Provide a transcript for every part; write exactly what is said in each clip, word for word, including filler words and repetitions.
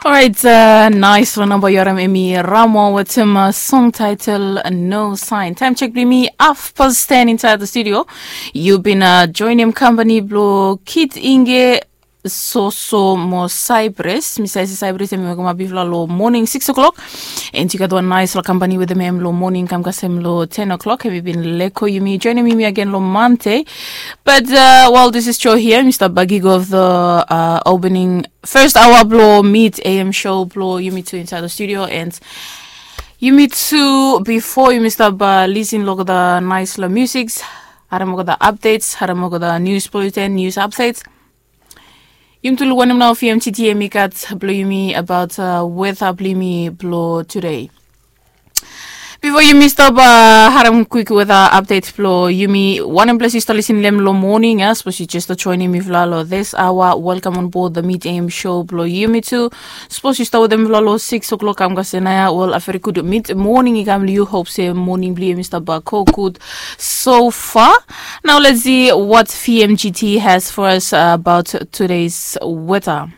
Orait, uh, naisfala namba yu harim, hemi Ramo wetem, uh, song title No Sign. Taem chek blong yumi hafpas ten insaed long studio. Yu bin, uh, joenem kampani blong Kit Inge, Soso mo Cyprus. Mi save se Cyprus hemi wokem bifala long moning sikis o'clock. And yu gat wan naisfala kampani wetem hem long moning kam kasem long ten o'clock. Hemi bin lego yumi, joenem yumi agen long Mande. But, uh, while this is show here, mi stap bagigo of the, uh, opening first hour blong Mid A M show blong yumitu insaed long studio. And yumitu, bifo yumi stap, uh, lisin long olgeta naisfala musiks, harim olgeta updates, harim olgeta news bulletin, news updates. Yumitu luk wanem nao V M G T hemi gat blong yumi abaot, uh, weta blong yumi blong tude. Bifo yumi stap, uh, harim kwik weta update blong yumi, wanem ples yu stap lisin long hem long moning, uh, sapos yu jes stap joenem mifala long this hour, welcome on board the Mid A M show blong yumitu. Sapos yu stap wetem mifala long sikis o'clock kam kasem naoia, wel, a very good mid moning i kam long yu. Hop se moning blong yu hemi stap, uh, go gud so far. Nao let's see what V M G T has for us, uh, abaot tude's weta.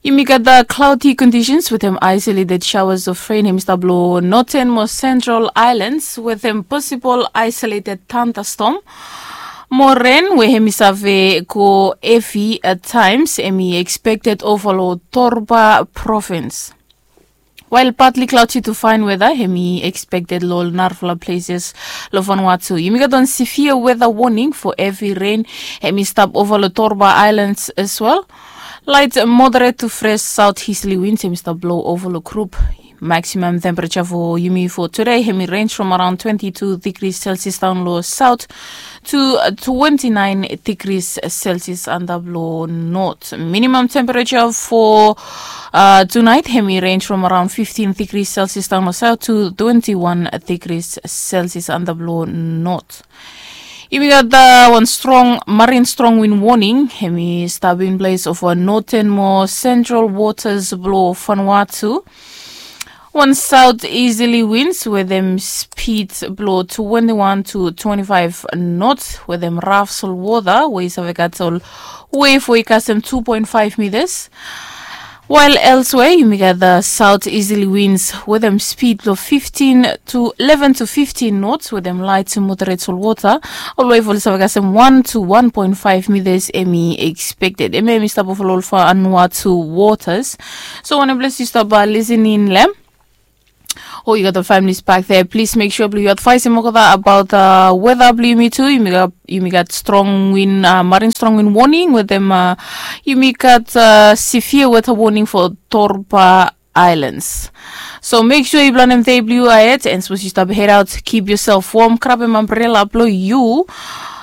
Yumi gat, uh, cloudy conditions wetem isolated showers of rain hemi stap long northern mo central islands wetem posibol isolated thunderstorm. Mo ren we hemi save go hevi at times hemi expected ova long Torba provins. While partly cloudy to fine weather hemi expected long ol narafala places long Vanuatu. Yumi gat wan severe weather warning for heavy rain hemi stap ova long Torba Islands as well. Light moderate to fresh southeasterly winds hemi stap blow ova long group. Maximum temperature for yumi for today hemi range from around twenty-two degrees Celsius down long south to twenty-nine degrees Celsius antap long north. Minimum temperature for, uh, tonight hemi range from around fifteen degrees Celsius down long south to twenty-one degrees Celsius antap long north. Yumi gat, uh, wan strong marine strong wind warning hemi stap in place ova northern mo central waters blong Vanuatu. Wan southeasterly winds wetem speed blong twenty-one to twenty-five knots wetem raf solwota we i save gat ol wave we i kasem two point five meters. While elsewhere yumi gat the southeasterly winds wetem speed blong fifteen to eleven to fifteen knots wetem light to moderate solwota. Ol wave oli save kasem one to one point five meters hemi expected. Hemia hemi stap ova long ol Vanuatu waters. So wanem ples yu stap, uh, lisin long hem, o yu gat ol families back there, please make sure blong yu advaesem olgeta abaot, uh, weather blong yumitu. Yumi gat, yumi gat strong wind, uh, marine strong wind warning wetem, uh, yumi gat, uh, severe weather warning for Torba Islands. So make sure yu planem dei blong yu ahead, and sapos yu stap head out, keep yourself warm, grabem umbrella blong yu.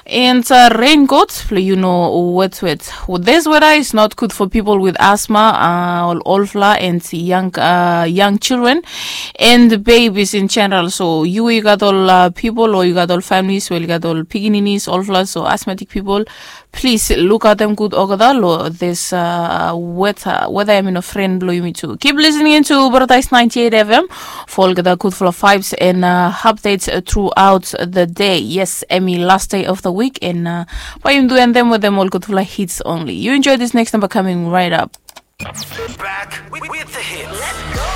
And, uh, raincoat blong yu no wetwet. This weather is not good for people with asthma, uh, ol olfala and young, uh, young children and babies in general. So yu we yu gat ol, uh, pipol o yu gat ol families we oli gat ol pikininis, olfala, so asthmatic people, plis lukaotem gud olgeta long this, uh, weather. Weather hemi no fren blong yumitu. Keep listening to Paradise ninety-eight F M for olgeta gudfala vibes and, uh, updates, uh, throughout the day. Yes, hemi last day of the week and, uh, bae yumi do end them wetem ol gudfala hits only. You enjoy this next number coming right up. Back with, with the hits.